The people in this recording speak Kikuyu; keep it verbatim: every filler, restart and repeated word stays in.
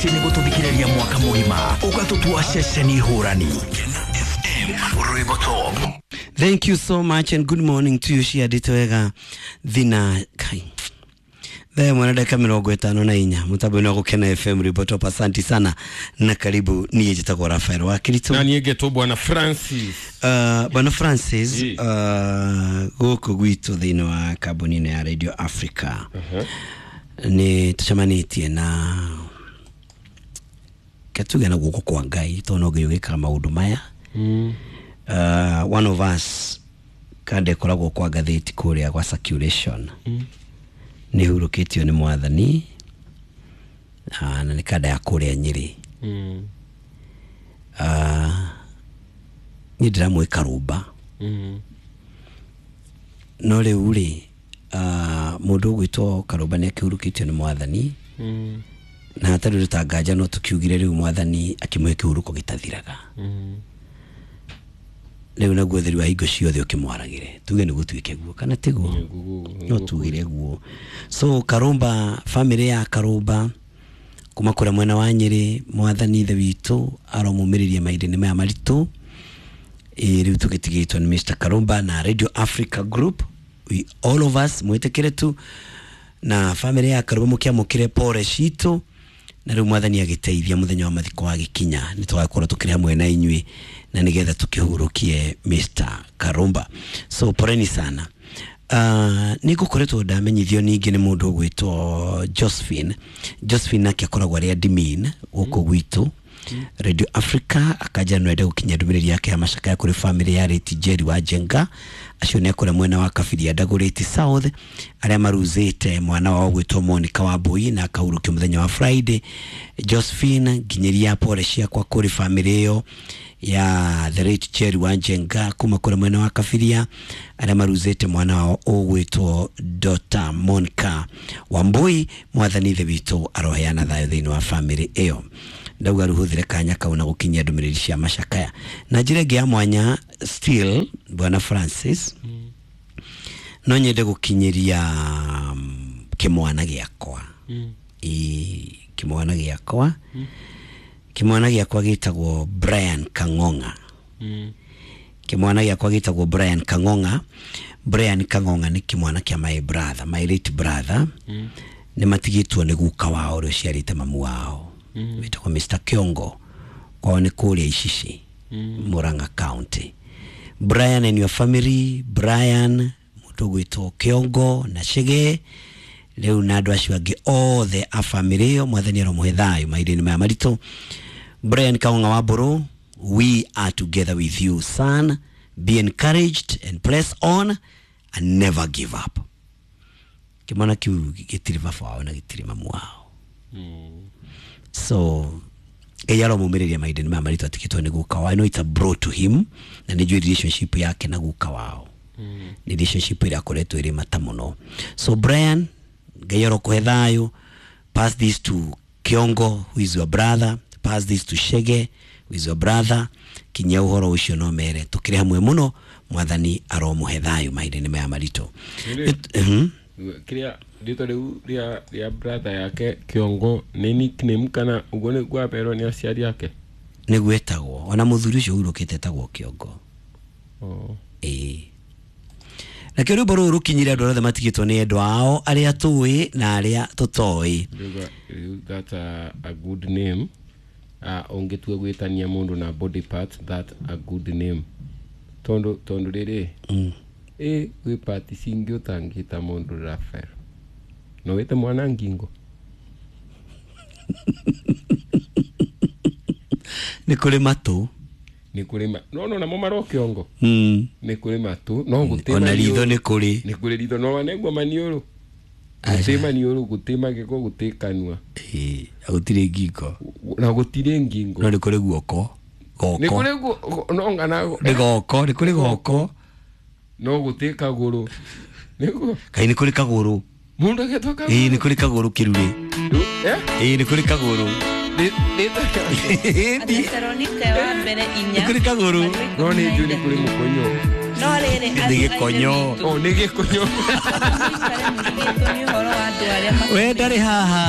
Asanti nĩ gũtũthikĩrĩria mwaka mũgima ũgatũtua ceceni hũrani. F M Rwĩmbo Top. Thank you so much and good morning to you. Ciandĩte wega thina kai thaa ĩmwe na ndagĩka mĩrongo ĩtano na inya mũtambo-inĩ wa Gũkena F M Rwĩmbo Top. Asanti sana na karibu. Niĩ njĩtagwo Rafael wa Kirito na niĩ ngetwo Bwana Francis. Uh, Bwana Francis, uh, gũkũ gwitũ thĩinĩ wa kambuni ya Radio Africa uh-huh. nĩ tũcemanĩtie na katuge na guoko kwa Ngai tondũ no Ngai ũgĩkaga maũndũ maya. mm. Uh, one of us kande koragwo kwa ngathĩti kũrĩa gwa circulation mm. nĩ hurũkĩtio nĩ mwathani uh, na nĩ kanda ya kũrĩa Nyĩrĩ. mm. uh, niĩ ndĩramwĩ Karũmba. mm. No rĩu rĩ uh, mũndũ ũgwĩtwo Karũmba nĩ akĩhurũkĩtio nĩ mwathani. mm. Na hatarĩ ũndũ ta nganja no tũkiugire rĩu mwathani akĩmũhe kĩhurũko gĩtathiraga. mm. Rĩu naguo ũtheri wa hingo ciothe ũkĩmwaragĩre tuge nĩ gũtuĩke guo kana tiguo no tugire guo. So Karũmba, family ya Karũmba kuma kũrĩa mwena wa Nyĩrĩ, mwathani ithe witũ aromũmĩrĩria mahinda-inĩ maya maritũ. Ĩ rĩu tũgĩtigĩtwo nĩ Mister Karũmba na Radio Africa Group, we all of us mwĩtĩkĩre tu na family ya Karũmba mũkĩamũkĩre pore citũ na rĩu mwathani agĩteithia mũthenya wa mathiko agĩkinya nĩ tũgakorwo tũkĩrĩ hamwe na inyuĩ na nĩgetha tũkĩhurũkie Mister Karũmba. So poreni sana. Uh, nĩ ngũkoretwo ndamenyithio ningĩ nĩ mũndũ ũgwĩtwo Josephine. Josephine nake akoragwo arĩ admin gũkũ gwitũ Radio Africa, akaja no ende gũkinyia ndũmĩrĩri yake ya macakaya kũrĩ family ya Reti Jerry wa Njenga, acio nĩ akũrĩa mwena wa Kabiria Ndagũrĩti South, arĩa maruzĩte mwana wao gwĩtwo Monica Wambui na akahurũkio mũthenya wa Friday. Josephine, nginyĩria pore ciakwa kũrĩ family ĩyo ya the late Jerry wa Njenga kuma kũrĩa mwena wa Kabiria, arĩa maruzĩte mwana wao ũgwĩtwo Dota Monica Wambui. Mwathani ithe witũ aroheana thayũ thĩinĩ wa family ĩyo. Ndauga rũhũthĩre kanya kau na gũkinyia ndũmĩrĩri cia macakaya na njĩra ĩngĩ ya mwanya. Still Bwana Francis, mm. no nyende gũkinyĩria um, kĩmwana gĩakwa. mm. Ĩ kĩmwana gĩakwa mm. kĩmwana gĩakwa gĩtagwo Brian Kang'ong'a. mm. Kĩmwana gĩakwa gĩtagwo Brian Kang'ong'a. Brian Kang'ong'a nĩ kĩmwana kĩa my brother, my late brother. mm. Nĩ matigĩtwo nĩ guka wao ũrĩa ũciarĩte mamu wao wĩtagwo Mister Kiongo, kwao nĩ kũrĩa Icici, mm. Murang'a County. Brian and your family, Brian mũndũ ũgwĩtwo Kiongo na Chege rĩu na andũ acio angĩ othe a family ĩyo, mwathani aromũhe thayũ mahinda-inĩ maya maritũ. Brian Kang'ong'a wa Mbũrũ, we are together with you son, be encouraged and press on and never give up. Kĩmwana kĩu gĩtirĩ baba wao na gĩtirĩ mamu wao. mm. So Ngai aromũmĩrĩria mahinda-inĩ maya maritũ atigĩtwo nĩ guka wao. I know it's a bro to him na nĩ njũĩ relationship yake na guka wao mm. nĩ relationship ĩrĩa akoretwo ĩrĩ mata mũno. So Brian, Ngai arokũhe thayũ. Pass this to Kiongo who is your brother, pass this to Shege who is your brother. Kinyia ũhoro ũcio no mere tũkĩrĩ hamwe mũno, mwathani aromũhe thayũ mahinda-inĩ maya maritũ. Kĩrĩa rĩtwa rĩu rĩa rĩa brother yake Kiongo nĩ nickname kana ũguo nĩguo aberwo nĩ aciari ake? Nĩguo etagwo, ona mũthuri ũcio ũhurũkĩte etagwo Kiongo. Oh. Ĩĩ. Nakĩo rwĩmbo rũrũ rũkinyire andũ othe matigĩtwo nĩ endwa ao arĩa tũĩ na arĩa tũtoĩ. That's a, a good name. Uh, ũngĩtua gwĩtania mũndũ na body part, that a good name. Tondũ tondũ rĩrĩ mm. ĩ gwĩ part cingĩ ũtangĩta mũndũ Rafael. No wĩte mwana ngingo. Nĩ kũrĩ matũ. Nĩ kũrĩ ma no no namo maro Kiongo. Mm. Nĩ kũrĩ matũ no gũtĩ ona ritho nĩ kũrĩ. Nĩ kũrĩ ritho no wanengwo maniũrũ. Gũtĩ maniũrũ, gũtĩ magego, gũtĩ kanua. Ĩ gũtirĩ ngingo. Na gũtirĩ ngingo. No nĩ kũrĩ guoko. Goko. Nĩ kũrĩ guoko no ngana nĩ goko, nĩ kũrĩ goko. No gũtĩ kagũrũ. Nĩguo. Kaĩ nĩ kũrĩ kagũrũ. Mũndũ agetwo kagũrũ. Ĩ nĩ kũrĩ kagũrũ kĩrurĩ. Eh? Ĩ nĩ kũrĩ kagũrũ. Athesalonike wa mbere inya Nĩ kũrĩ kagũrũ. No nĩ njũĩ nĩ kũrĩ mũkonyo. No rĩrĩ Nĩ gĩkonyo. Oh, nĩ gĩkonyo. Mũikare mũrigĩtwo nĩ ũhoro wa andũ arĩa We ndarĩ haha.